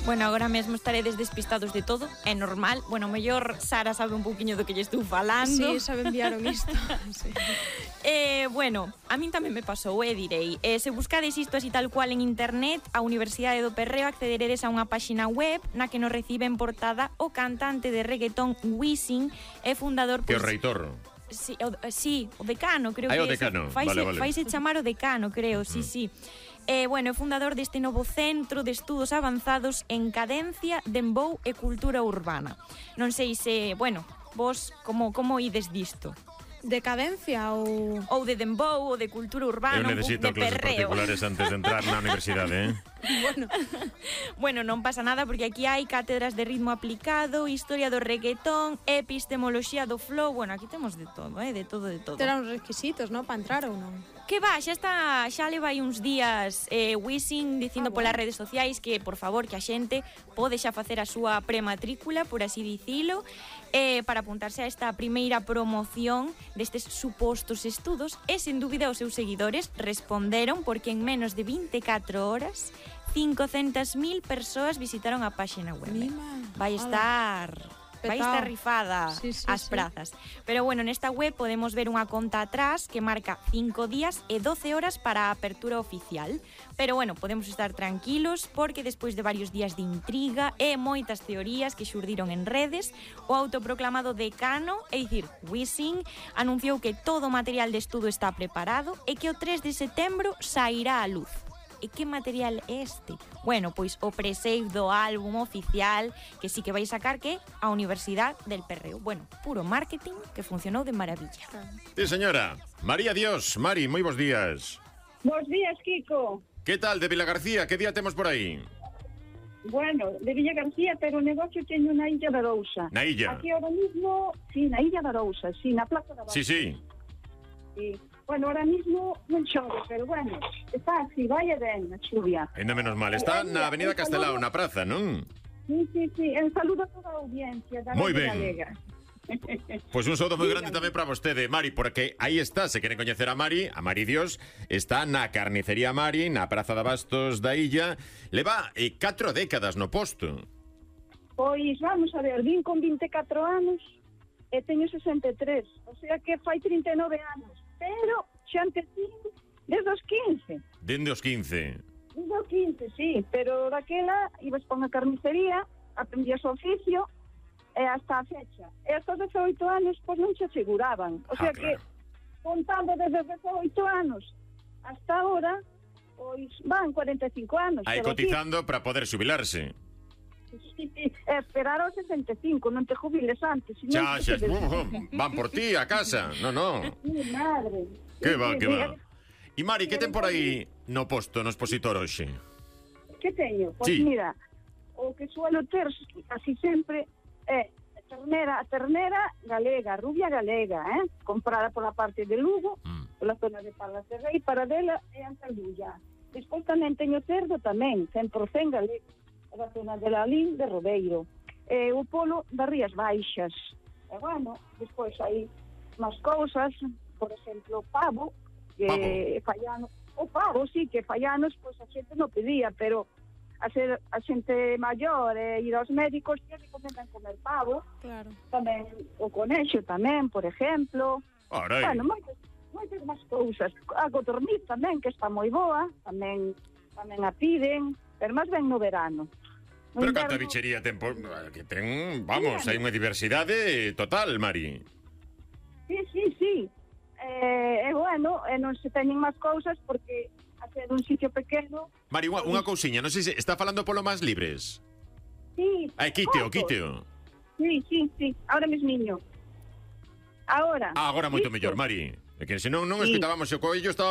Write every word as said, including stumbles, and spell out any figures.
Bueno, agora mesmo estaredes despistados de todo, é normal. Bueno, mellor Sara sabe un pouquiño do que lle estou falando. Sí, sabe enviaron isto. Sí. Eh, bueno, a min tamén me pasou, eh, direi. Eh, se buscades isto así tal cual en internet, a Universidade do Perreo accederedes a unha páxina web na que nos recibe en portada o cantante de reggaetón Wisin e fundador... Que pues, o reitor. Sí, o, sí, o decano, creo Ai, que o decano, faise, vale, vale. faise chamar o decano, creo, sí, mm. sí. Eh, bueno, é fundador deste novo Centro de Estudos Avanzados en Cadencia, Dembow e Cultura Urbana. Non sei se, bueno, vos como, como ides disto? Decadencia ou... Ou de dembow, ou de cultura urbana, Eu necesito un pouco de clases perreo. particulares antes de entrar na universidade, eh? Bueno. Bueno, non pasa nada porque aquí hai cátedras de ritmo aplicado, historia do reggaetón, epistemoloxía do flow. Bueno, aquí temos de todo, eh, de todo, de todo. Terá uns requisitos, non, para entrar ou non? Que va, xa está, xa leva aí uns días eh, Wisin dicindo ah, polas bueno. redes sociais que, por favor, que a xente pode xa facer a súa prematrícula, por así dicilo, eh, para apuntarse a esta primeira promoción destes supostos estudos, e, sen dúbida, os seus seguidores responderon porque en menos de vinte e catro horas cincocentas mil persoas visitaron a páxina web. Mima. Vai estar... Vai estar rifada sí, sí, as sí. prazas. Pero bueno, nesta web podemos ver unha conta atrás que marca cinco días e doce horas para a apertura oficial. Pero bueno, podemos estar tranquilos porque despois de varios días de intriga e moitas teorías que xurdiron en redes, o autoproclamado decano, é dicir, Wisin, anunciou que todo o material de estudo está preparado e que o tres de setembro sairá á luz. E que material é este? Bueno, pois o presave do álbum oficial que sí que vai sacar que a Universidade del Perreo. Bueno, puro marketing que funcionou de maravilla. Sí, señora. María Dios, Mari, moi bons días. Bos días, Kiko. Que tal de Vila García? Que día temos por aí? Bueno, de Villa García, pero o negocio teño na Illa da Arousa. Na illa? Aquí ahora mismo, sí, na Illa da Arousa, sí, na Plaza da Arousa. Sí, sí. Sí. Bueno, ahora mismo non chove, pero bueno, está así, vai e ben a chuvia. Ainda menos mal. Está na Avenida Castelao, na praza, non? Sí, sí, sí. Un saludo a toda a audiencia da Moi Radio ben. Galega. Pois pues un saúdo moi grande tamén para vostede, Mari, porque aí está, se queren coñecer a Mari, a Mari Dios, está na carnicería Mari, na Praza de Bastos da Illa. Leva eh, catro décadas no posto. Pois vamos a ver, vin con vinte e catro anos e teño sesenta e tres, o sea que fai trinta e nove anos. Pero xa empecín desde os quince. Dende os quince. Desde os quince, sí. Pero daquela ibas pa unha carnicería, aprendías o oficio, e hasta a fecha. E hasta os dezaoito anos, pois non se aseguraban. O sea Ah, que, claro. contando desde os dezaoito anos hasta ahora, pois van cuarenta e cinco anos. Aí pero cotizando para poder xubilarse. sí, sí, e esperar aos sesenta e cinco, non te jubiles antes. Xa, xa, uh, van por ti a casa. No, no. Mi madre. Que va, Sí, que sí, va. E Mari, que ten por aí no posto, no expositor hoxe? Que teño? Pois Sí. mira, o que suelo ter casi sempre é a ternera, a ternera galega, rubia galega, eh? Comprada pola parte de Lugo, Mm. pola zona de Parlas de Rei, para dela é a Caldulla. Despois tamén teño cerdo tamén, cen por cento galego, da zona de Lalín de Rodeiro. E o polo das Rías Baixas. E bueno, despois hai máis cousas, por exemplo, pavo, que Pavo. fallano, o pavo, sí, que fallanos, pois a xente non pedía, pero a ser a xente maior e ir aos médicos que recomendan comer pavo. Claro. Tamén o conexo tamén, por exemplo. Arai. Bueno, moitas, moitas máis cousas. A codorniz tamén, que está moi boa, tamén tamén a piden, pero máis ben no verano. No Pero inverno- canta bichería ten por... que ten, vamos, hai unha diversidade total, Mari. Sí, sí, sí. Eh, e bueno, e non se teñen máis cousas porque a ser un sitio pequeno. Mari, unha, unha cousiña, non sei se está falando polo máis libres. Sí. Ai, quíteo, fotos. quíteo. Sí, sí, sí. Ahora mesmiño. Ahora. Ah, agora moito Listo. mellor, Mari. É que senón non Sí. escutábamos o coello, estaba